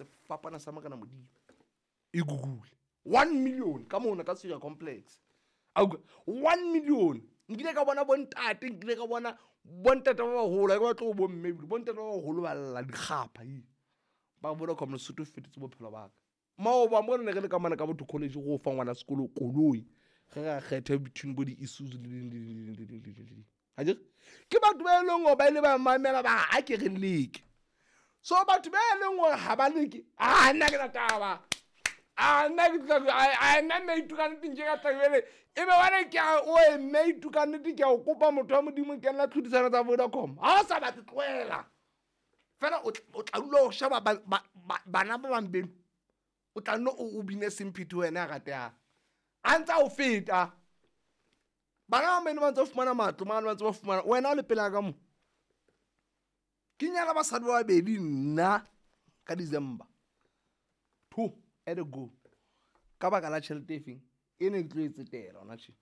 Sefapana sa Morena Modimo. E google. 1 million ka mona ka Syria complex. A utlwa? 1 million. Nkile ka bona bontate, nkile ka bona bontate ba baholo, ha ke batle ho bo mme ebile, bontate ba baholo ba lla dikgapha ee. Ba Vodacom Lesotho fetotse bophelo ba ka. Maoba mo re ne re le ka mane ka Botho College go fa ngwana sekolo koloi. Ge re a kgetha between bo di-Isuzu le ding, le ding, le ding, le ding, le ding, le ding. Akere? Ke batho ba e leng gore ba ile ba mamela ba re, a ke re leke. So batho ba e leng gore ga ba leke, a nna ke na taba. A nna ke tla, a nna mme itu ka nnete nke ka tla jwale. E be wane ke a, oe mme itu ka nnete ke a o kopa motho wa Modimo ke nna tlhodisano tsa Vodacom. Ha o sa batle tlohela. Fela o tla dula o sheba bana ba bang beno. O tla nne o bine Semphithi wena ya ratehang. A ntse a o feta. Bana ba beno ba ntse ba fumana matlo, mane ba ntse ba fumana. Wena o le pela ka mo. Ke nyala basadi ba babedi nna ka December. 2 at a go. Ka baka la tjhelete e feng? E ne ke tlo e tsetela hona tje.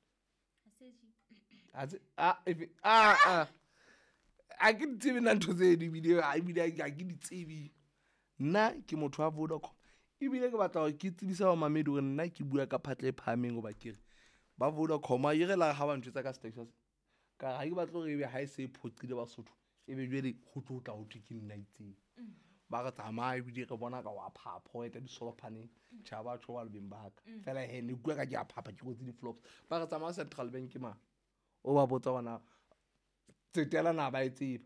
A tse, a, efe, a, a. A ke di tsebe nna ntho tse di ebile, a, ebile ha ke di tsebe. Nna ke motho wa Vodacom. Ebile ke batla hore ke tsebise bamamedi hore nna ke bua ka phatla e phahameng hoba ke re ba Vodacom a ere la ha ba ntjwetsa ka Station. Ka re ha ke batle hore ebe ha e se e phoqile Basotho, ebe jwale ho tlo tla ho thwe ke nna itseng. Ba re tsamaya ebile re bona ka wa phapha, o eta disolophaneng. Tjha, ba tjho ba le beng ba ka. Fela he, ne ke bua ka ke a phapha, ke kwetse di-flops. Ba re tsamaya Central Bank mane. O ba botsa hore na tsetela na ba e tseba.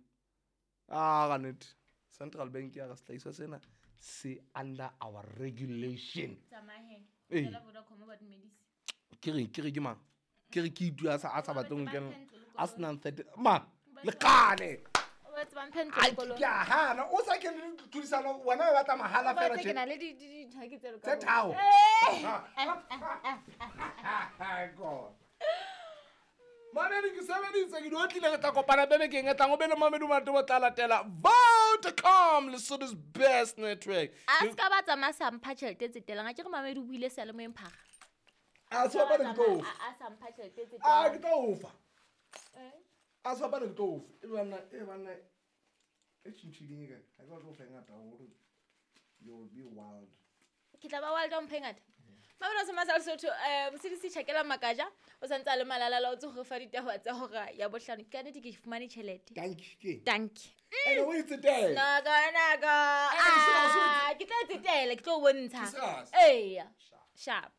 Ah, ka nnete. Central Bank ya re sehlahiswa sena se under our regulation. Tsamaya he. Ee. Fela Vodacom ba dumedise. Ke re, ke re ke mang? Ke re ke itu a sa batleng ho Ba kena. mphe ntlo le A koloi. senang thirty. Ma, Ba le kgale. Ba tsebang mphe ntlo le Ai, koloi. ke a hana. O sa kene le tlhodisano, wena o batla mahala Ba fela tse tje. ke na le di ntho ke tse Tse tharo. Eh. God. Mamedi ke sebeditse, ke di otlile, re tla kopana bebekeng e tlang. O be le Mamedi Matobo tla latela Vodacom, Lesotho's best network. A se ka ba tsamaya sa mpha tjhelete e tsetelang. A ke re Mamedi o buile seyalemoyeng phara. A se bapale ke tlo o fa. A sa mpha tjhelete e tsetelang. A ke tlo o fa. Eh? A se bapale ke tlo o fa. E banna, e banna, e tjhintjhileng e kae? Ha ke batle ho fa e ngata haholo. You will be wild. Ke tla ba wild ha o mpha e ngata. Mamedi wa Semasa Lesotho, Mosebetsi Tjhakela Makaja, o santse a le malala o tse go fa ditaba tsa hora ya bohlano. Ka nnete ke fumane tjhelete. Dankie, ke. Dankie. Ene o e tsetela. Naka, naka. Ene, se- se- Ah, ke tla tsetela, ke tlo o bontsha. Ke se- Eya. Sharp.